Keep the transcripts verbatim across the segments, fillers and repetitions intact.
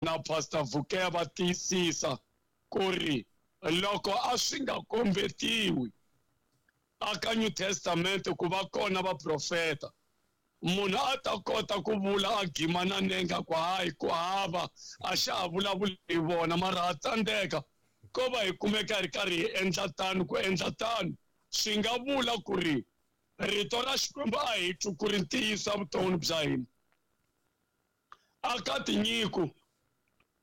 Na Pastor Vukeya va tiyisisa ku ri loko a swi nga kombetiwi aka New Testament ku va kona vaprofeta, munhu a ta kota ku vula a gima na nenga ku hayi ku hava a xa ha vulavuli hi vona, mara ha tsandzeka ko va hi kumeka hi ri karhi hi endla tano. Ku endla tano swi nga vula ku ri rito ra Xikwembu a hi twi ku ri ntiyiso evuton'wini bya hina. Aka tinyiko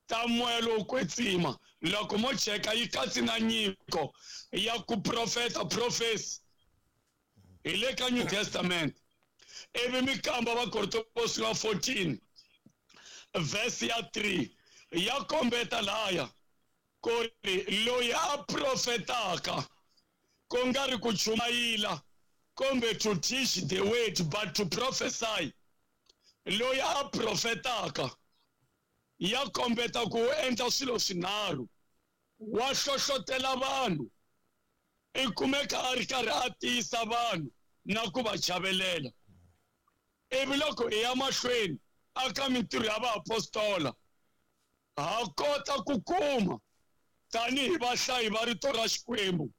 ta moya lowo kwetsima loko mo cheka yi katsi na nyiko ya ku profeta, prophecy hi le ka New Testament. Ivi mi kamba Vakorinto vo sungula fourteen verse ya three ya kombeta laya ku ri loyi a profetaka ku nga ri ku chumayila kumbe to teach the word but to prophesy, loyi a profetaka ya kombeta ku endla swilo swinharhu: wa hlohlotela vanhu, i kumeka a ri karhi a tiyisa vanhu na ku va chavelela. Ivi loko hi ya mahlweni aka mintirho ya vaapostola ha kota ku kuma tanihi vahlayi va rito ra Xikwembu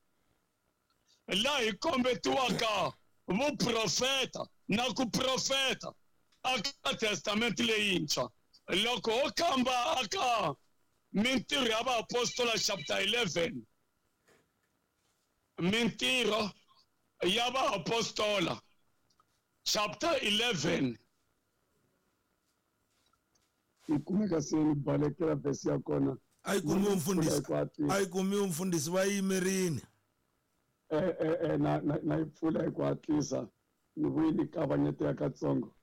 laha hi kombetiwaka vuprofeta na ku profeta aka Testament leyintshwa. Loko ho kamba aka mintirho ya vaapostola chapter eleven, mintirho ya vaapostola chapter eleven, yi kumeka se ni balekela verse ya kona. A yi kumiwi mfundhisi, a yi kumiwi mfundhisi, va yimerini. Eh, eh, eh, na, na, na yi pfula hi ku hatlisa, ni vuyi ni kavanyeteka katsongo.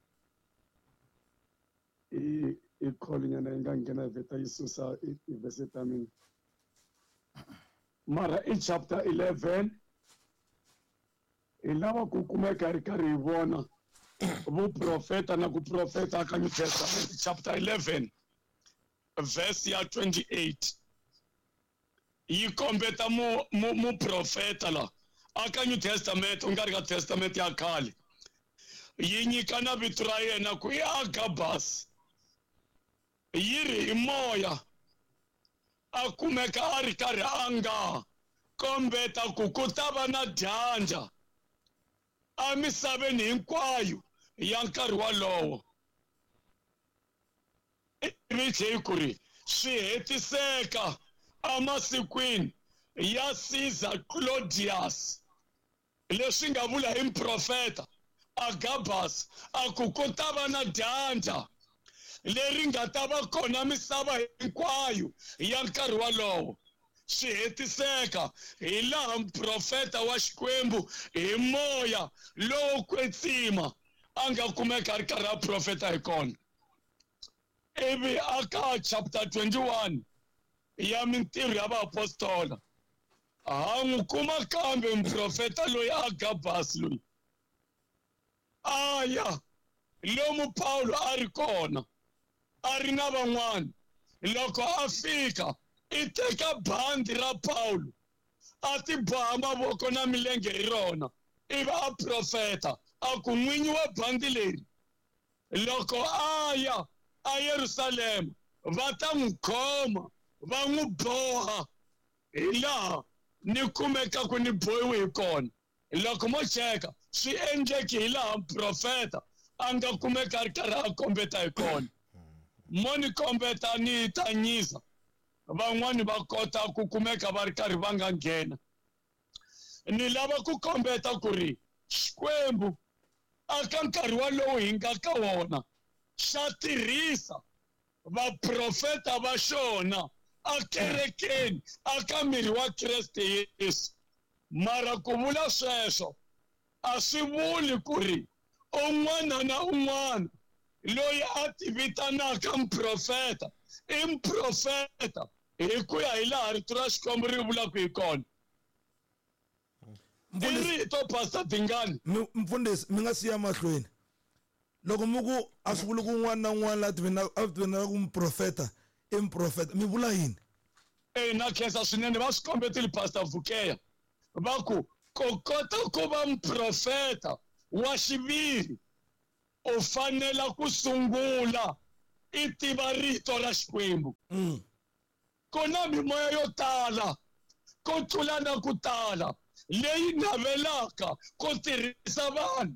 I, i call nyana yi nga nghena vheta yi susa i, i verse ta mina. Mara i chapter eleven hi lava ku kumeka hi ri karhi hi vona vuprofeta na ku profeta ka New Testament. Chapter eleven verse ya twenty-eight yi kombeta mu, mu, muprofeta la aka New Testament, u nga ri ka Testament ya khale, yi nyika na vito ra yena ku i Agabus. Yi ri hi moya a kumeka a ri karhi a nga kombeta ku ku ta va na dyandza emisaveni hinkwayo ya nkarhi walowo. Ivi tlhe ku ri swi hetiseka emasikwini ya Caesar Claudius, leswi nga vula hi muprofeta Agabus a ku ku ta va na dyandza leri nga ta va kona misava hinkwayo ya nkarhi walowo. Swi hetiseka hi laha muprofeta wa Xikwembu hi moya lowo kwetsima a nga kumeka a ri karhi a profeta hi kona. Ivi aka chapter twenty-one ya mintirho ya vaapostola ha n'wi kuma kambe muprofeta loyi Agabus loyi a ya lomu Paulo a ri kona a ri na van'wana. Loko a fika i teka bandi ra Paulo a ti boha mavoko na milenge hi rona, ivi a profeta a ku n'winyi wa bandi leri loko a ya a Yerusalema va ta n'wi khoma va n'wi boha hi laha ni kumekaku ni bohiwe hi kona. Loko mo cheka swi endleki hi laha muprofeta a nga kumeka a ri karhi a kombeta hi kona. Mo ni kombeta ni tanyisa van'wani va kota ku kumeka va ri karhi va nga nghena. Ni lava ku kombeta ku ri Xikwembu aka nkarhi walowu hi nga ka wona xa tirhisa vaprofeta va xona akerekeni aka miri wa Kreste Yesu. Mara ku vula sweswo a swi vuli ku ri un'wana na un'wana loyi a ti vitanaka muprofeta i muprofeta hi ku ya hi laha rito ra Xikwembu ri vulaka hi kona. I rito Pastor Dingani. Mfundhisi, mi nga siya mahlweni. Loko mi ku a swi vuli ku un'wana na un'wana la a tivitanaka ku muprofeta i muprofeta, mi vula yini? Eh, na khensa swinene va swi kombetile Pastor Vukeya va ku ku kota ku va muprofeta wa xiviri u fanela ku sungula i tiva rito ra Xikwembu. Ku na mimoya yo tala ku tlula na ku tala leyi navelaka ku tirhisa vanhu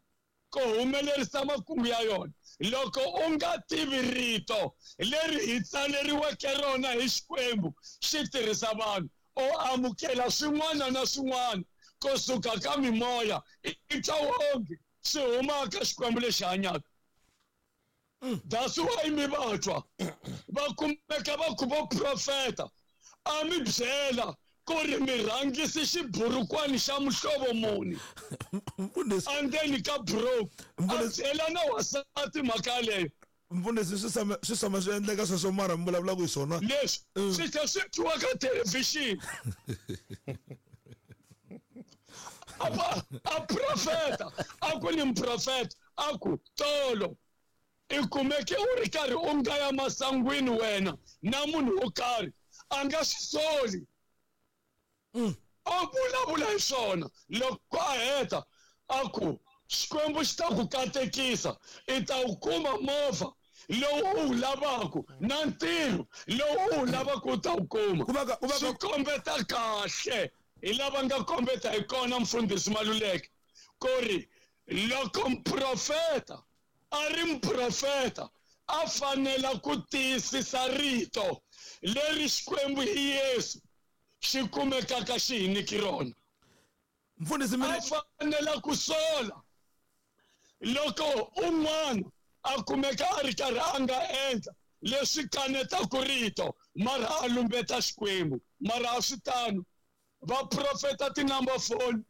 ku humelerisa makungu ya yona. Loko u nga tivi rito leri hi tsaleriweke rona hi Xikwembu xi tirhisa vanhu, u amukela swin'wana na swin'wana kusuka ka mimoya i twa onge swi huma ka Xikwembu lexi hanyaka. That's why mi va twa va kumeka va ku vo profeta a mi byela ku ri mi rhangisi xiburukwani xa muhlovo muni endzeni ka buruku, a byela na wasati mhaka leyo. Mfundhisi, swi tshama swi tshama swi endleka sweswo, mara mi vulavulaka hi swona leswi swi tlhela swi twiwa ka thelevhixini. A a profeta a ku ni muprofeta a ku tolo i kumeke u ri karhi u nga ya masangwini wena na munhu wo karhi a nga swi soli, a vulavula hi swona. Loko a heta a ku Xikwembu xi ta ku katekisa, i ta wu kuma movha lowu u wu lavaka na ntirho lowu u wu lavaka u ta wu kuma. Swi kombeta kahle hi lava nga kombeta hi kona mfundhisi Maluleke ku ri loko muprofeta a ri muprofeta a fanela ku tiyisisa rito leri Xikwembu hi Yesu xi kumekaka xi hi nyiki rona. Mfundhisi, a fanela ku sola loko un'wana a kumeka a ri karhi a nga endla leswi kanetaka rito mara a lumbeta Xikwembu. Mara a swi tano, va profeta ti-number phone,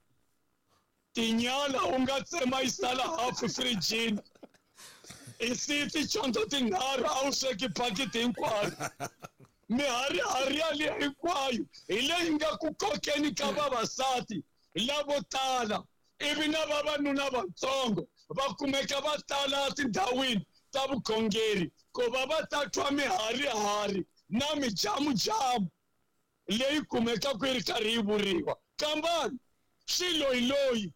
tinyala u nga tsema yi sala hafu firijini, i siyi ticondzo tinharhu a wu sweki phakiti hinkwayo, miharihari yaliya hinkwayo hi leyi nga ku kokeni ka vavasati lavo tala, ivi na vavanuna vatsongo va kumeka va tala tindhawini ta vukhongeri ku va va ta twa miharihari na mijamujamu leyi kumekaka yi ri karhi yi vuriwa. Kambani swiloyiloyi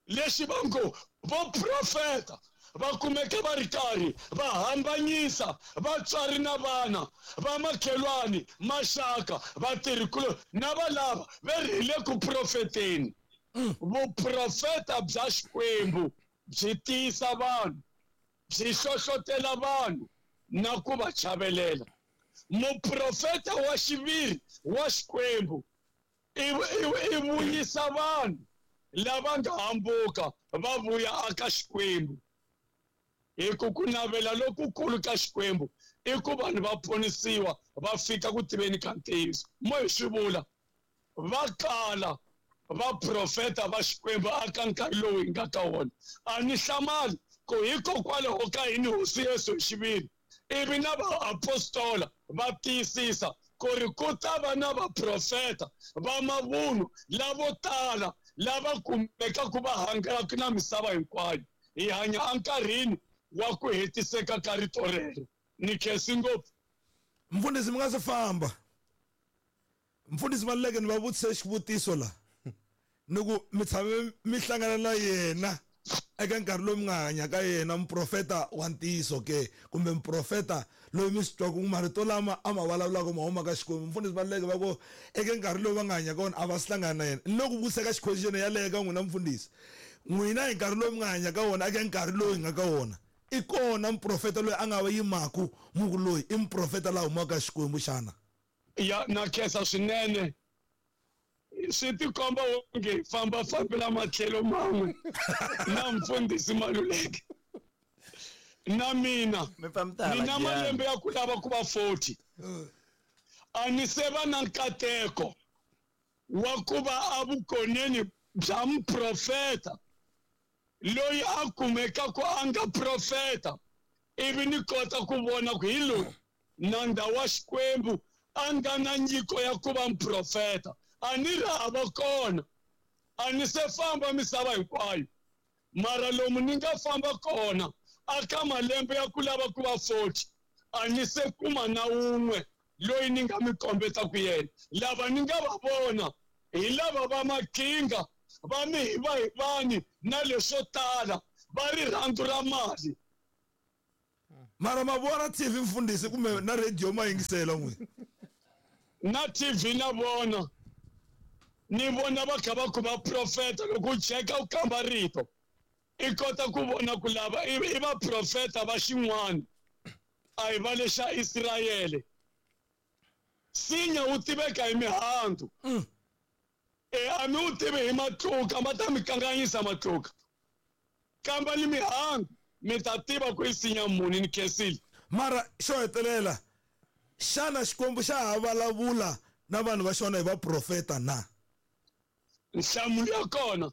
lexi va ngo vo profeta va kumeka va ri karhi va hambanyisa vatswari na vana va makhelwani, maxaka, vatirhikuloni na valava va ri hi le ku profeteni. Vuprofeta bya Xikwembu byi tiyisa vanhu, byi hlohlotela vanhu na ku va chavelela. Muprofeta wa xiviri wa Xikwembu i i vuyisa vanhu lava nga hambuka va vuya aka Xikwembu. Hi ku ku navela lokukulu ka Xikwembu i ku vanhu va ponisiwa va fika ku tiveni ka ntiyiso. Mo hi swi vula va kala vaprofeta va Xikwembu aka nkarhi lowu hi nga ka wona. A ni hlamali ku hikokwalaho ka yini Hosi Yesu hi xiviri ivi na vaapostola va tiyisisa ku ri ku ta va na vaprofeta va mavunwa lavo tala lava kumekaka va hangalaka na misava hinkwayo. Hi hanya enkarhini wa ku hetiseka ka rito rero. Ni khensi ngopfu. Mfundhisi, mi nga se famba. Mfundhisi Maluleke, ni va vutise xivutiso la ni ku mi tshame mi hlangana na yena eka nkarhi lowu mi nga hanya ka yena, muprofeta wa ntiyiso ke kumbe muprofeta loyi mi swi twaka marito lama a ma vulavulaka ma huma ka Xikwembu? Mfundhisi Maluleke va ku eka nkarhi lowu va nga hanya ka wona a va si hlangana na yena. Ni loko vutisa ka xiquestion yaleyo ka n'wina mfundhisi, n'wina hi nkarhi lowu mi nga hanya ka wona eka nkarhi lowu hi nga ka wona i kona muprofeta loyi a nga va yimaku muku loyi i muprofeta la humaka ka Xikwembu xana? Ya na khensa swinene. Swi tikomba onge hi famba fambela matlhelo man'we na mfundhisi Maluleke na mina ni na malembe ya ku lava ku va forty. A ni se va na nkateko wa ku va evukoneni bya muprofeta loyi a kumekaka a nga profeta ivi ni kota ku vona ku hi loyi nandza wa Xikwembu a nga na nyiko ya ku va muprofeta. A ni ri hava kona, a ni se famba misava hinkwayo, mara lomu ni nga famba kona aka malembe ya ku lava ku va forty a ni se kuma na wun'we loyi ni nga mi kombeta ku yena. Lava ni nga va vona hi lava va makinga va mihivahivani na leswo tala va rirhandzu ra mali. Mara ma vona T V mfundhisi kumbe na radio ma yingisela n'wina? Na T V na vona. Ni vona va kha va ku va profeta loko u cheka u kamba rito. I kota ku vona ku lava i va profeta va xin'wana. A hi va lexa Israyele. Sinya wu tiveka hi mihandzu. E a mi wu tivi hi matluka, ma ta mi kanganyisa matluka. Kamba ni mihandzu mi ta tiva ku i sinya muni ni khensile. Mara xo hetelela, xana Xikwembu xa ha vulavula na vanhu va xona hi vaprofeta na? Nhlamulo ya kona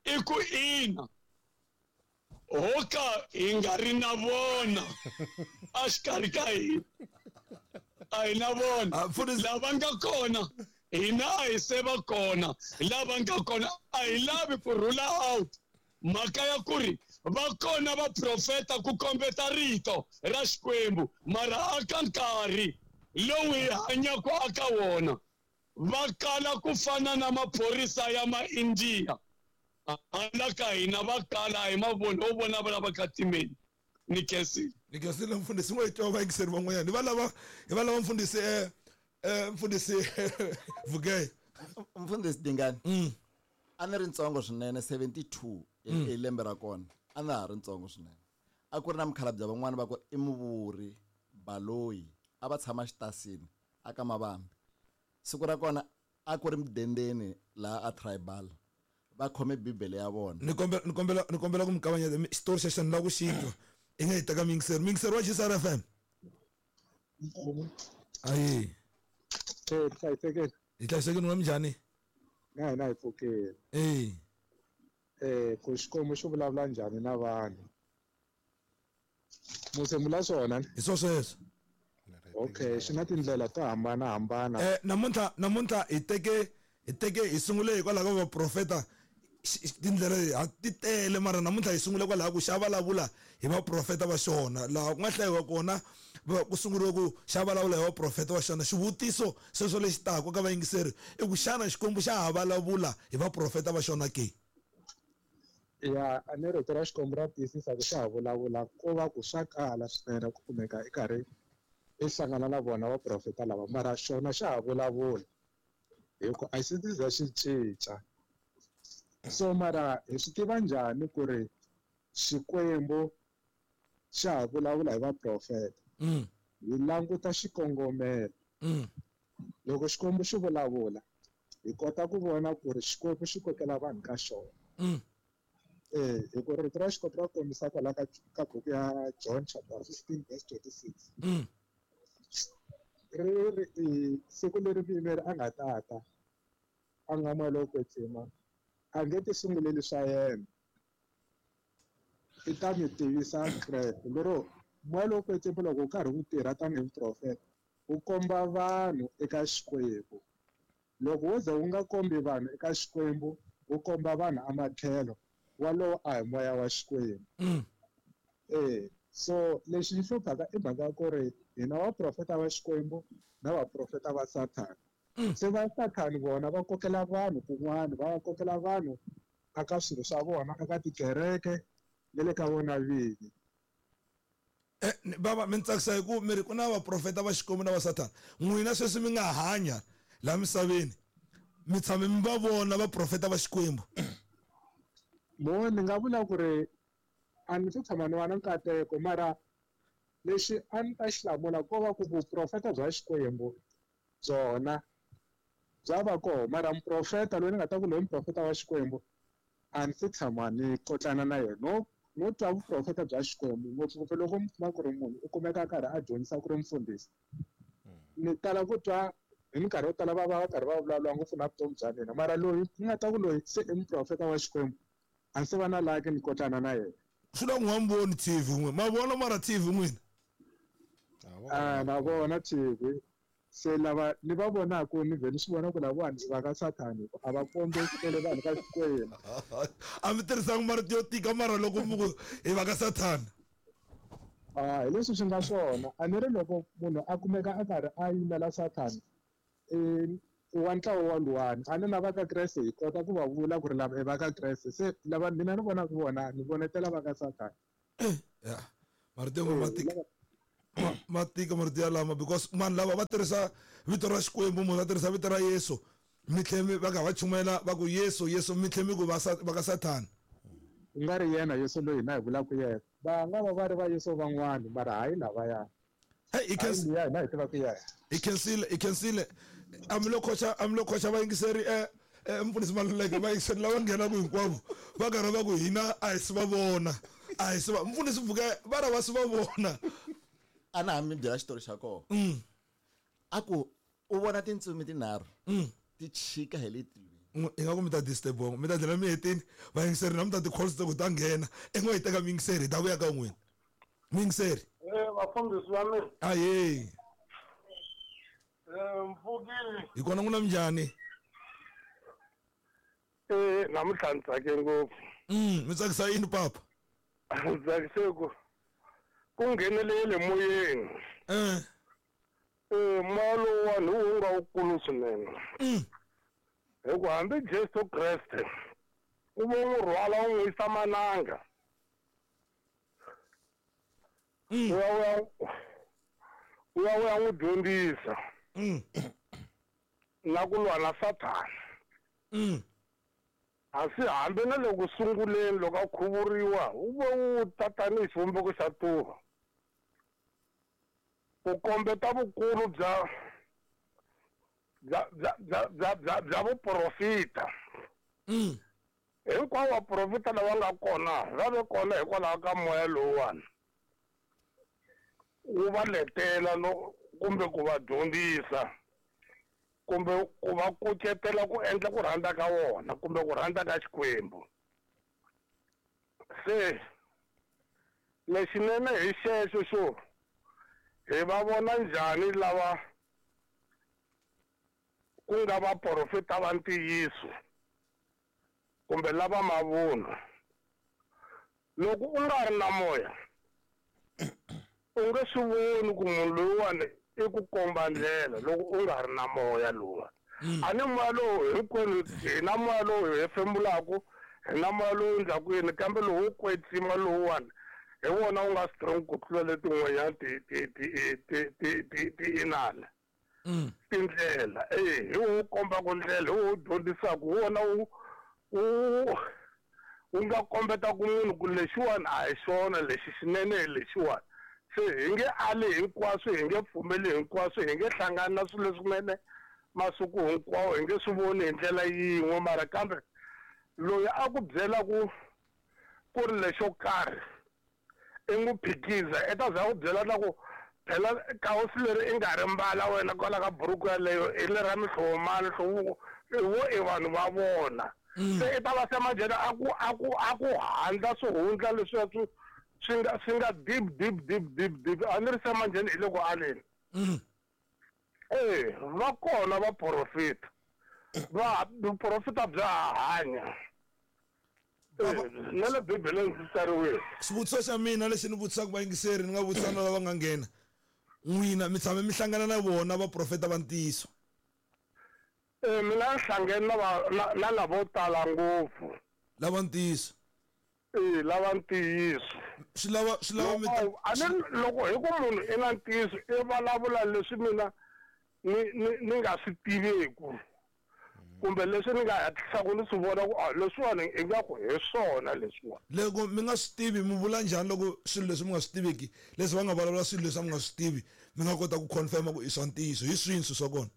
i ku ina. Ho ka hi nga ri na vona a xikarhi ka hina. A hi na vona. Lava nga kona hina a hi se va kona. Lava nga kona a hi lavi ku rula out mhaka ya ku ri va kona vaprofeta ku kombeta rito ra Xikwembu, mara aka nkarhi lowu hi hanyaka aka wona va kala ku fana na maphorisa ya ma-India. Hala ka hina va kala hi mavoni ho vona va lava ka timeni. Ni khensile. Ni khensile mfundhisi, n'we hi twa vayingiseri van'wanyana. Hi va lava hi va lava mfundhisi eh eh mfundhisi Vugeye. Mfundhisi Dingani. A ni ri ntsongo swinene, seventy-two i lembe ra kona. A na ha ri ntsongo swinene. A ku ri na mukhalabye van'wana va ku i muvuri Baloyi, a va tshama xitasini a ka Mavambi. Siku ra kona a ku ri mudendeni laha a tribal. Va khome Bibele ya vona. Ni kombela ni kombela ni kombela ku mi kavanyeta xitori xexo ni lava ku xi twa. I nga hi teka miyingiseri. Miyingiseri wa G S R F M. Ayi. Eh, hlayisekile. Hi hlayisekile n'wina minjhani? Na hina hi pfukile. Eh. Eh, ku Xikwembu xi vulavula njhani na vanhu? Muse mula swona? Hi swo sweswo. Okay, xi na tindlela to hambanahambana. Eh, namuntlha namuntlha hi teke hi teke hi sungule hikwalaho ka vaprofeta. Tindlela ti tele mara namuntlha hi sungule kwalaho ku xa vulavula hi vaprofeta va xona. Laha ku nga hlayiwa kona ku sunguriwe ku xa vulavula hi vaprofeta va xona. Xivutiso sweswo lexi taka ka vayingiseri i ku xana Xikwembu xa ha vulavula hi vaprofeta va xona ke? Ya, a ni rito ra Xikwembu ra tiyisisa ku xa ha vulavula, ko va ku swa kala swinene ku kumeka i karhi i hlangana na vona vaprofeta lava, mara xona xa ha vulavula hi ku a xi za xi cinca. So mara hi swi tiva njhani ku ri Xikwembu xa ha vulavula hi vaprofeta? Hi languta xikongomelo. Loko Xikwembu xi vulavula hi kota ku vona ku ri Xikwembu xi kokela vanhu ka xona. Eh, hi ku rito ra Xikwembu ra kombisa kwala ka ka buku ya John chapter fifteen verse twenty-six. Ri ri siku leri muyimeri a nga tata a nga moya lowo kwetsima a nge ti sunguleli swa yena, i ta mi tivisa Kreste. Lero moya lowo kwetsima loko wu karhi wu tirha tanihi muprofeta wu komba vanhu eka Xikwembu. Loko wo ze wu nga kombi vanhu eka Xikwembu, wu komba vanhu amatlhelo, walowo a hi moya wa Xikwembu. Eh, so lexi xi hluphaka i mhaka ya ku ri hina vaprofeta va Xikwembu na vaprofeta va Sathana. Se va Sathana vona va kokela vanhu kun'wana, va kokela vanhu aka swilo swa vona, aka tikereke na le ka vona vinyi. Eh, baba mi tsakisa hi ku mi ri ku na vaprofeta va Xikwembu na va Sathana. N'wina sweswi mi nga hanya laha misaveni, mi tshame mi va vona vaprofeta va Xikwembu? Mo ni nga vula ku ri a ni se tshama ni va na nkateko, mara lexi a ni ta xi hlamula ko va ku vuprofeta bya Xikwembu byona bya va koho, mara muprofeta loyi ni nga ta ku loyi muprofeta wa Xikwembu a ni se tshama ni kotlana na yena. No no twa vuprofeta bya Xikwembu ngopfungopfu loko mi kuma ku ri munhu u kumeka a karhi a dyondzisa ku ri mufundhisi. Ni tala ku twa hi minkarhi yo tala va va va karhi va vulavula ngopfu na vutomi bya mina, mara loyi ni nga ta ku loyi se i muprofeta wa Xikwembu a ni se va na laki ni kotlana na yena. Swi la ku nga mi voni T V n'wina, ma vona mara T V n'wina? A na vona T V. Se lava ni va vonaka ni vhe ni swi vona ku lavawani va ka Sathani a va kombetele vanhu ka Xikwembu. A mi tirhisanga marito yo tika mara loko mi ku hi va ka Sathana. A hi leswi swi nga swona. A ni ri loko munhu a kumeka a karhi a yimela Sathana i wa ntlawa wa luwani, a ni na va ka Kreste hi kota ku va vula ku ri lava i va ka Kreste. Se lava mina ni vonaka vona ni vonetela va ka Sathana. Ya, marito yo ma tika. Ma tika marito ya lama because vanhu lava va tirhisa vito ra Xikwembu, munhu va tirhisa vito ra Yesu, mi tlhe mi va ka va chumayela va ku Yesu Yesu, mi tlhe mi ku va va ka Sathana. Ku nga ri yena Yesu loyi hina hi vulaka yena, va nga va va ri va Yesu van'wani, mara hayi lavaya. Hey, i khensi liya hina hi tivaka yena. I khensile, i khensile. A mi lo khoxa, a mi lo khoxa vayingiseri eh mfundhisi Maluleke, vayingiseri lava nghenaka hinkwavo va karhi va ku hina a hi si va vona, a hi si va mfundhisi Mvuke va ra va si va vona. A na ha mi byela xitori xa kona. A ku u vona tintsumi tinharhu ti chika hi le tilweni. I nga ku mi ta disturb mi ta dlela mi hetini vayingiseri na mi ta ti-calls ta ku ta nghena i ngo hi teka miyingiseri hi ta vuya ka n'wina miyingiseri. Eh vafundhisi va mina. Ahee. Eh mpfukile. Hi kona n'wina minjhani? Eh namuntlha ni tsake ngopfu. Mm mi tsakisa yini papa? Ndzi tsakise ku ku nghenelele moyeni. Eh. Eh moya lowuwani wu nga wukulu swinene. Mm. Hi ku hambi Jesu Kreste u vo n'wi rhwala u n'wi yisa mananga. Mm. U ya u ya u ya u ya n'wi dyondzisa. Mm. Na ku lwa na Sathana. Mm. Asi hambi na le ku sunguleni loko a khuvuriwa wu ve wu ta tanihi xivumbeko xa tuva ku kombeta vukulu bya bya bya bya bya bya bya vuprofita. Mm. Hinkwavo vaprofita lava nga kona va ve kona hikwalaho ka moya lowuwani wu va letela no kumbe ku va dyondzisa kumbe ku va kucetela ku endla ku rhandza ka wona kumbe ku rhandza ka Xikwembu. Se lexinene hi xexo xo hi va vona njhani lava ku nga vaprofeta va ntiyiso kumbe lava mavunwa. Loko u nga ri na moya u nge swi voni ku munhu loyiwani i ku komba ndlela loko u nga ri na moya lowa. A ni moya lowu hinkwenu hi na moya lowu hi hefemulaka, hi na moya lowu endlaku yini, kambe lowu wo kwetsima lowuwani hi wona wu nga strong ku tlula letin'wanyana ti ti ti ti ti ti ti inana tindlela. Eh hi wo kombaka ndlela, hi wo dyondzisaka, hi wona wu wu wu nga kombeta ku munhu ku lexiwani a hi xona lexi xinene hi lexiwani. Se hi nge ali hinkwaswo, hi nge pfumeli hinkwaswo, hi nge hlangani na swilo leswinene masiku hinkwawo, hi nge swi voni hi ndlela yin'we, mara kambe loyi a ku byela ku ku ri lexo karhi i n'wi phikiza i ta za ku byela na ku phela kawusi leri i nga ri mbala wena kwala ka buruku yaleyo i le ra mihlovo mani hlovo vo i vanhu va vona. Se i ta va se manjheni a ku a ku a ku handla swihundla leswiya swi swi nga swi nga deep deep deep deep deep a ni ri se manjheni hi le ku aleni. Eh va kona vaprofeta va vuprofeta bya hanya na le Bibeleni swi tsariwile. Xivutiso xa mina lexi ni vutisaka vayingiseri ni nga vutisa na lava nga nghena, n'wina mi tshame mi hlangana na vona vaprofeta va ntiyiso? Eh mina ni hlangene na va na lavo tala ngopfu lava ntiyiso. Eh lava ntiyiso swi lava swi lava mi ta a ni loko hi ku munhu i na ntiyiso i vulavula leswi mina ni ni ni nga swi tiveku kumbe leswi ni nga hatlisaka ni swi vona ku a leswiwani ingaku hi swona leswiwani. Loko mi nga swi tivi mi vula njhani loko swilo leswi mi nga swi tiveki leswi va nga vulavula swilo leswi a mi nga swi tivi mi nga kota ku confirma ku i swa ntiyiso hi swini swilo swa kona?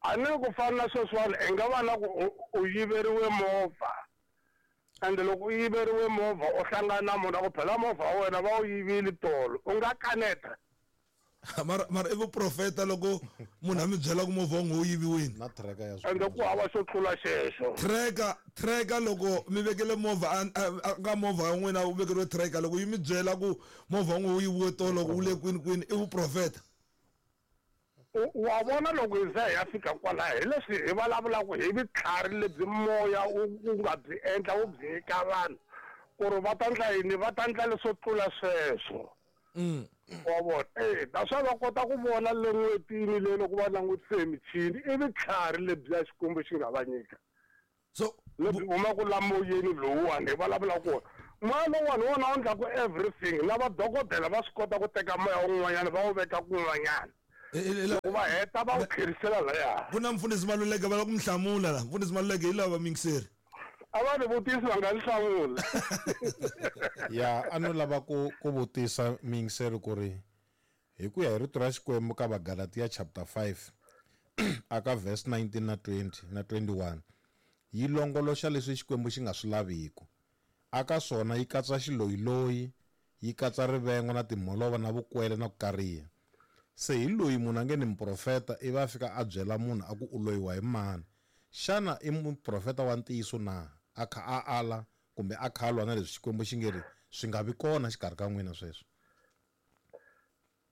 A ni ku fana na sweswiwani i nga va na ku u yiveriwe movha ende loko u yiveriwe movha u hlangana na munhu a ku phela movha wa wena va wu yivile tolo u nga kaneta. Mara mara i vuprofeta loko munhu a mi byela ku movha wa n'wi wu yiviwile na tracker ya ende ku hava xo tlula xexo. Tracker tracker loko mi vekele movha ka movha ya n'wina u vekeriwe tracker loko yi mi byela ku movha wa n'wi wu yiviwe tolo wu le kwini kwini i vuprofeta. Wa vona loko hi za hi ya fika kwalaho hi leswi hi vulavulaka hi vutlhari lebyi moya wu nga byi endla wu byi nyika vanhu ku ri va ta ndla yini, va ta ndla leswo tlula sweswo. Wa vona eh naswona va kota ku vona le n'hwetini le loko va langutise hi michini i vutlhari lebyiya Xikwembu xi nga va nyika. So lebyi humaka la moyeni lowuwani hi vulavula ku Moya lowuwani wona wu endlaku everything na vadokodela va swi kota ku teka moya wun'wanyana va wu veka kun'wanyana loko va heta va wu tlherisela laya ku na mfundhisi Maluleke va lava ku mi hlamula la mfundhisi Maluleke hi lava miyingiseri a va ni vutisi va nga ni hlamula ya a no lava ku ku vutisa miyingiseri ku ri hi ku ya hi rito ra Xikwembu ka Vagalatiya chapter five aka verse nineteen na twenty na twenty-one yi longoloxa leswi Xikwembu xi nga swi laviku aka swona yi katsa xiloyiloyi yi katsa rivengo na timholova na vukwele na ku kariha se hi loyi munhu a nge ni muprofeta ivi a fika a byela munhu a ku u loyiwa hi mani xana i muprofeta wa ntiyiso na a kha a ala kumbe a kha a lwa na leswi Xikwembu xi nge ri swi nga vi kona xikarhi ka n'wina sweswo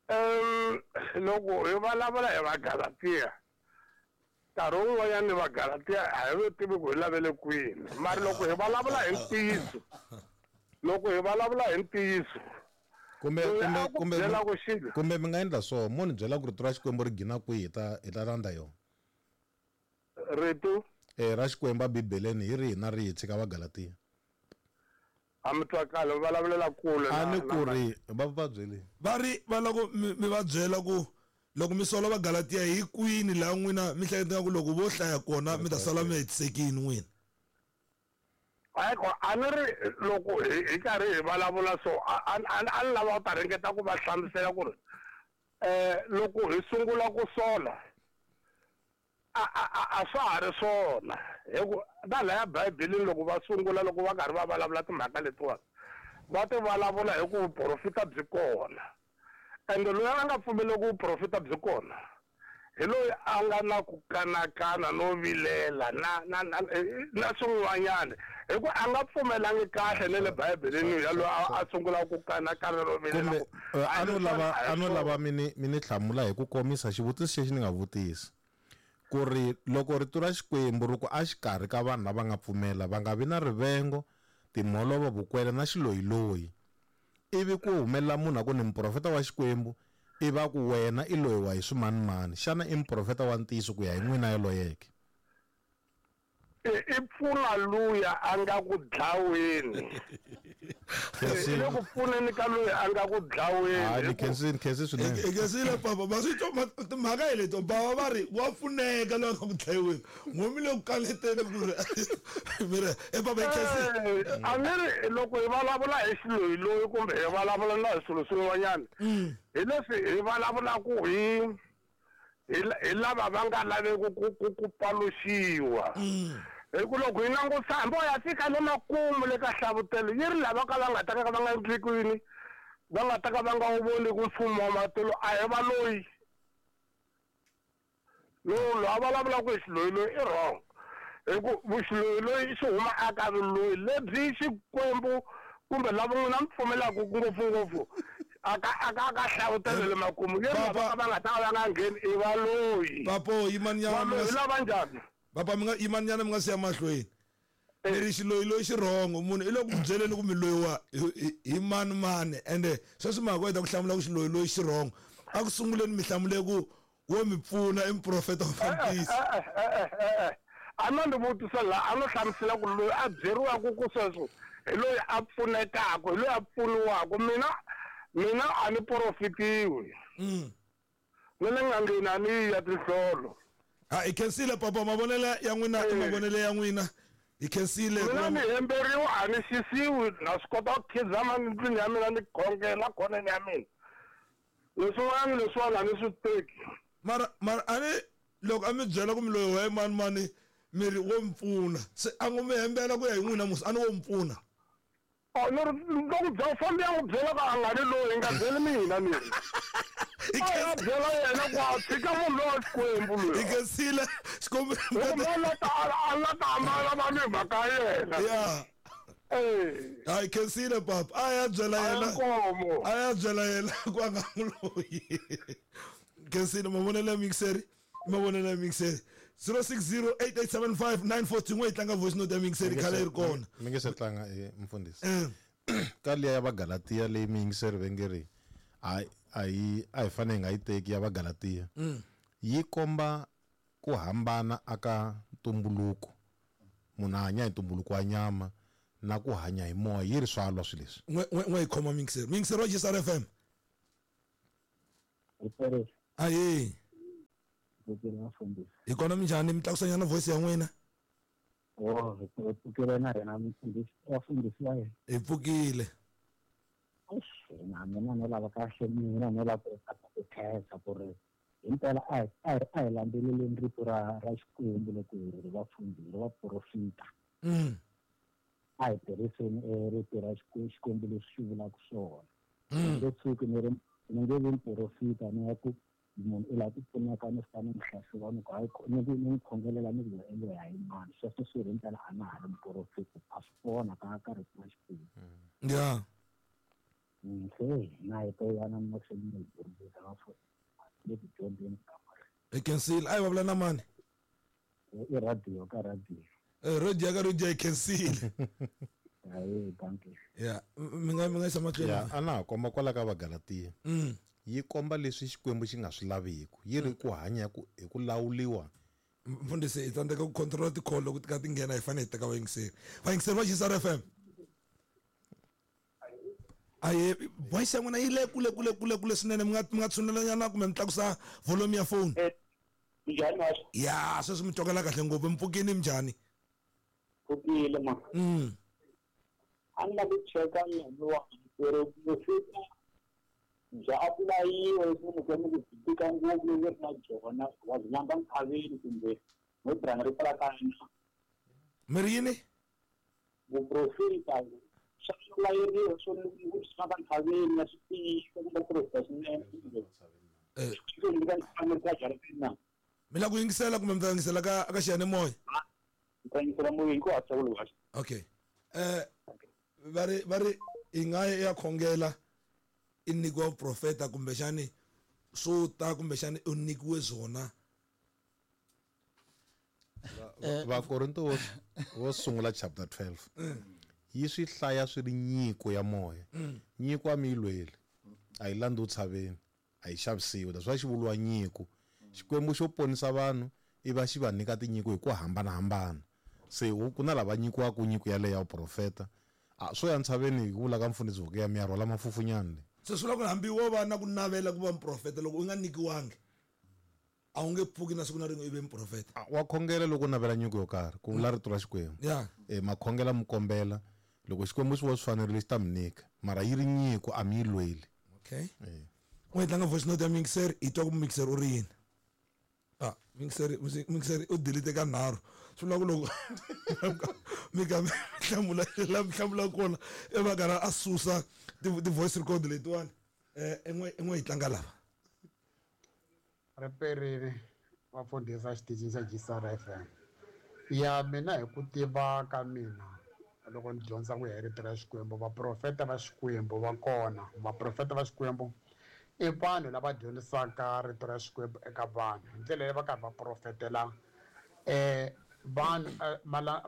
um loko hi vulavula hi Vagalatiya nkarhi wun'wanyana Vagalatiya a hi va tivi ku hi lavele kwini mara loko hi vulavula hi ntiyiso loko hi vulavula hi ntiyiso kumbe kumbe kumbe kumbe mi nga endla so mo ni byela ku rito ra Xikwembu ri gina kwihi hi ta hi ta landza yona rito eh ra Xikwembu eBibeleni hi rihi na rihi tshika Vagalatiya a mi twakala va vulavulela kule a ni ku ri va va byeli va ri va loko mi va byela ku loko mi sola Vagalatiya hi kwini laha n'wina mi hleketaka ku loko vo hlaya kona mi ta sala mi hetisekini n'wina hayi a ni ri loko hi karhi hi vulavula so a a ni lava ku ta ringeta ku va hlamusela ku ri um loko hi sungula ku sola a a a swa ha ri swona hi ku na laya Bibeleni loko va sungula loko va karhi va vulavula timhaka letiwani va ti vulavula hi ku vuprofita byi kona ende loyi a nga pfumeleki ku vuprofita byi kona hi loyi a nga na ku kanakana no vilela na na na na swin'wanyana hi ku a nga pfumelangi kahle ne le Bibeleni ya loyi a sungula ku kanakana no vilela kumbe a no lava a no lava mi ni mi ni hlamula hi ku komisa xivutiso xexi ni nga vutisa ku ri loko rito ra Xikwembu ri ku a xikarhi ka vanhu lava nga pfumela va nga vi na rivengo timholovo vukwele na xiloyiloyi ivi ku humelela munhu a ku ni muprofeta wa Xikwembu ivi a ku wena i loyiwa hi swimanimani xana i muprofeta wa ntiyiso ku ya hi n'wina yoloyeke i pfuna luya a nga ku dlaweni i le ku pfuneni ka loyi a nga ku dlaweni ni khensini khensi swinene hi khensile papa va swi twa timhaka hi leto bava va ri wa pfuneka loyi a nga ku dlayiweni n'we mi le ku kaleteni ku ri mi ri e papa hi khensile a ni ri loko hi vulavula hi xiloyiloyi kumbe hi vulavula na hi swilo swin'wanyana hi leswi hi vulavulaku hi hi lava va nga laveki ku ku ku paluxiwa hi ku loko hi langusa hambi ya fika le makumu le ka hlavutelo yi ri lava ka va nga ta ka va nga endli kwini va nga ta ka va nga wu voni ku mfumo wa matilo a hi valoyi lowu loyi a vulavulaka hi xiloyiloyi i wrong hi ku vuxiloyiloyi xi huma aka vuloyi lebyi Xikwembu kumbe lava n'wina mi pfumelaka ngopfungopfu aka aka aka hlavutelo le makumu yi ri lava ka va nga ta ka va nga ngheni i valoyi papo yimanyana valoyi lava njhani papa mi nga yimanyana mi nga siya mahlweni mi ri xiloyiloyi xi rhongo munhu i le ku byeleni ku mi loyiwa hi mani mani ende sweswi mhaka ku heta ku hlamula ku xiloyiloyi xi rhongo a ku sunguleni mi hlamule ku wo mi pfuna i muprofeta wa fambisi a no ni vutisa laha a no hlamusela ku loyi a byeriwaka ku sweswo hi loyi a pfunekaka hi loyi a pfuniwaka mina mina a ni profitiwi ni le n'angeni a ni yi ya tinhlolo ha hi khensile papa mavonelo ya n'wina i mavonelo ya n'wina hi khensile mina ni hemberiwa a ni xisiwi na swi kota ku khizama ndlwini ya mina ni khongela khoneni ya mina leswin'wana leswiwani a ni swi teki mara mara a ni loko a mi byela ku mi loyi wa mani mani mi ri wo mi pfuna se a ngo mi hembela ku ya hi n'wina musi a ni wo mi pfuna oh ni ri loko bya fambi ya n'wi byela ku a nga ni loyi nga byeli mina ni a byela yena ku a tshika munhu lowa Xikwembu loyi hi khensile Xikwembu a la ta a la ta hambana va ni mhaka ya yena ya eh hi khensile papa a ya byela yena a ya byela yena ku a nga n'wi loyi khensile mavonelo ya mixeri mavonelo ya mixeri zero six zero eight eight seven five nine four two n'we yi tlanga voice note ya mixeri khale yi ri kona mi nge se tlanga e mfundhisi ka liya ya Vagalatiya leyi miyingiseri va nge ri a a yi a hi fanele hi nga yi teki ya Vagalatiya yi komba ku hambana aka ntumbuluko munhu a hanya hi ntumbuluko wa nyama Na ku hanya hi moya yi ri swa lwa swilo leswi. N'we n'we hi khoma mixer. Mixer wa G S R F M. Ayi. Hi kona minjhani mi tlakusanyana voice ya n'wina? Oh, hi pfukile na hina mfundhisi wa mfundhisi wa hina. Hi pfukile. Na mina no lava kahle mina no lava ku khensa ku ri himpela a hi a hi landzeleleni rito ra ra Xikwembu loko hi ri vafundhisi vaprofita. A hi tirhiseni rito ra Xikwembu leswi xi vulaka swona. Ni nge tshuki ni ri ni nge vi muprofita ni ya ku munhu u lava ku pfuneka ni fika ni n'wi hlahluva ni ku hayi ni ni n'wi khongelela ni ku endle hayi mani sweswo swi ri himpela a na ha ri muprofita a swi kona ka ka rito ra Xikwembu. Yeah. Se na hi to yana mahlweni ni dyondzisa vafundhisi le ku dyondzeni ka Hi khensile. A hi vulavula na mani? I radio ka radio. Eh radio ka radio hi khensile. Hayi dankie. Yeah, mi nga mi nga yisa mahlweni. Yeah, a na ha komba kwala ka Vagalatiya. Yi komba leswi Xikwembu xi nga swi laveki. Yi ri ku hanya ku hi ku lawuliwa. Mfundhisi hi tsandzeka ku control ti-call loko ti ka ti nghena hi fanele hi teka vayingiseri. Vayingiseri va G S R F M. Ayi voice ya n'wina yi le kule kule kule kule swinene mi nga mi nga tshunelanyana kumbe mi tlakusa volume ya phone. Njhani wa? Ya, sweswi mi twakala kahle ngopfu. Mi pfukini minjhani? Pfukile ma. Mm. A ni lava ku cheka nyana wa ku ri vuprofita bya apulayiwa leswi munhu ku byi tika ngopfu loko ri na byona wa byi lamba nkhaveni kumbe no tirhanga ri pfala ka na. Mi ri yini? Vuprofita swa layeriwa swo ku swi famba nkhaveni na swi tiyisa kumbe profita swinene. Eh. Na. Mi lava ku yingisela kumbe mi ta yingisela ka ka xiyanimoya? Mi ta yingisela moyeni ku hatla ku lwa. Okay. Eh va ri va ri i nga ya khongela i nyikiwa vuprofeta kumbexani swo ta kumbexani u nyikiwe byona. Vakorinto vo sungula chapter twelve. Yi swi hlaya swi ri nyiko ya moya. Nyiko a mi yi lweli. A yi landzi tshaveni, a yi xavisiwi. That's why xi vuriwa nyiko. Xikwembu xo ponisa vanhu i va xi va nyika tinyiko hi ku hambanahambana. Se ku na lava nyikiwaka nyiko yaleyo ya vuprofeta. A swo ya ntshaveni hi ku vula ka mfundhisi Vukiya mi ya rhwala mafufunyana le. Se swi vula ku hambi wo va na ku navela ku va muprofeta loko u nga nyikiwangi a wu nge pfuki na siku na rin'we i ve muprofeta. Wa khongela loko u navela nyiko yo karhi ku vula rito ra Xikwembu. Yeah. Eh makhongela mi kombela loko Xikwembu xi vo swi fanerile xi ta mi nyika mara yi ri nyiko a mi yi lweli. Okay. U hi tlanga voice note ya mixer hi twa ku mixer u ri yini. Ah, mixer mixer u delete ka nharhu. Swi vula ku loko mi ka mi hlamula la mi hlamula kona i va karhi a susa ti-voice record letiwani. Eh en'we en'we hi tlanga lava. Riperile vafundhisi xitichini xa G S R F M. Ya mina hi ku tiva ka mina loko ni dyondza ku ya hi rito ra Xikwembu vaprofeta va Xikwembu va kona. Vaprofeta va Xikwembu i vanhu lava dyondzisaka rito ra Xikwembu eka vanhu hi ndlela leyi va karhi va profetela eh vanhu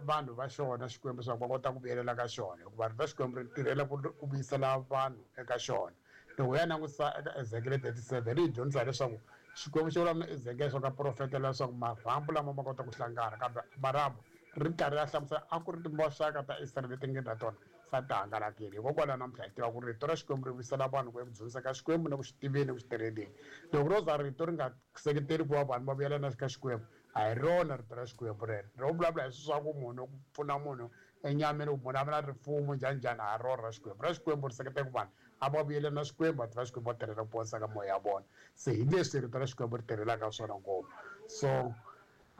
vanhu va xona Xikwembu leswaku va kota ku vuyelela ka xona hikuva rito ra Xikwembu ri tirhela ku vuyisela vanhu eka xona. Loko hi ya langutisa eka Ezekiel thirty-seven ri hi dyondzisa leswaku Xikwembu xi vulavula na Ezekiel leswaku a profetela leswaku marhambu lama ma kota ku hlangana kambe marhambu ri karhi ya hlamusela a ku ri timoxaka ta Israyele leti nga na tona sa ti hangalakile. Hikokwalaho namuntlha hi tiva ku rito ra Xikwembu ri vuyisela vanhu ku eku dyondzisa ka Xikwembu na ku xi tiveni ku xi tirheleni. Loko ro za rito ri nga seketeli ku va vanhu va vuyelana ka Xikwembu a hi rona rito ra Xikwembu rero. Ro vulavula hi swa ku munhu ku pfuna munhu enyameni ku munhu a va na rifumo njhani njhani a hi rona ra Xikwembu. Ra Xikwembu ri seketela ku vanhu a va vuyelana na Xikwembu va tiva Xikwembu va tirhela ku ponisa ka moya ya vona. Se hi leswi rito ra Xikwembu ri tirhelaka swona ngopfu. So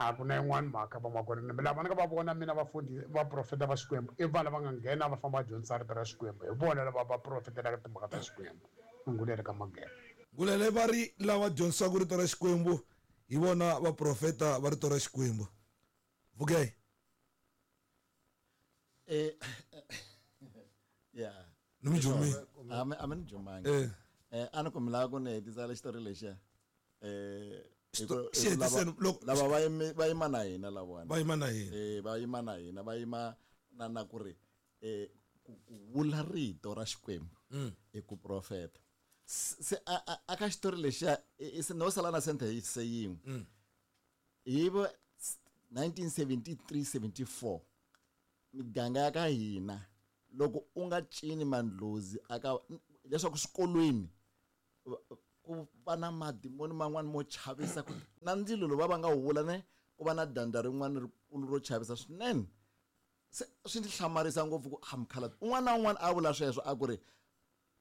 a ku na yin'wana mhaka vamakwerhu lava ni nga va vona mina vafundhisi vaprofeta va Xikwembu i vanhu lava nga nghena va famba va dyondzisa rito ra Xikwembu hi vona lava va profetelaka timhaka ta Xikwembu. Ngulele ka Mageba. Ngulele va ri lava dyondzisaka rito ra Xikwembu hi vona vaprofeta va rito ra Xikwembu. Vukey. Eh yeah. Ni mi jumile. A mi a mi ni jumangi. Eh. Eh a ni ku mi lava ku ni hetisa le xitori lexiya. Eh lava va yima va yima na hina lavawani. Va yima na hina. Eh va yima na hina va yima na na ku ri eh ku vula rito ra Xikwembu i ku profeta. Se a ka xitori lexiya i no sala na sentence yin'we. Hi nineteen seventy-three seventy-four miganga ya ka hina loko u nga cini mandlozi aka leswaku swikolweni ku va na madimoni man'wani mo chavisa ku na ndzilo lowu va va nga wu vula ne ku va na dyandza rin'wana rikulu ro chavisa swinene. Se swi ndzi hlamarisa ngopfu ku a mukhalabye un'wana na un'wana a vula sweswo a ku ri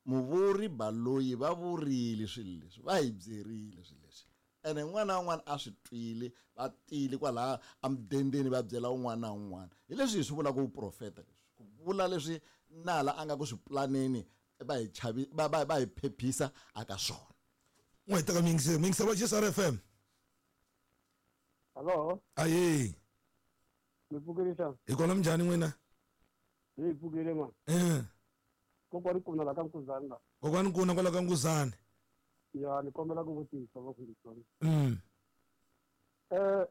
muvuri Baloyi va vurile swilo leswi, va hi byerile swilo leswi, ene un'wana na un'wana a swi twile, va tile kwalaha emudendeni va byela un'wana na un'wana. Hi leswi hi swi vulaka vuprofeta leswi, ku vula leswi nala a nga ku swi planeni va hi chavi va va va hi phephisa aka swona. N'we teka miyingiseri, miyingiseri wa G S R F M. Hello. Aye. Mi pfukile xana? Hi kona minjhani n'wina? Hi pfukile ma. Eh. Kokwani Nkuna la ka Nkuzani la. Kokwani Nkuna kwala ka Nkuzani. Ya, ni kombela ku vutisa vafundhisi. Mm. Eh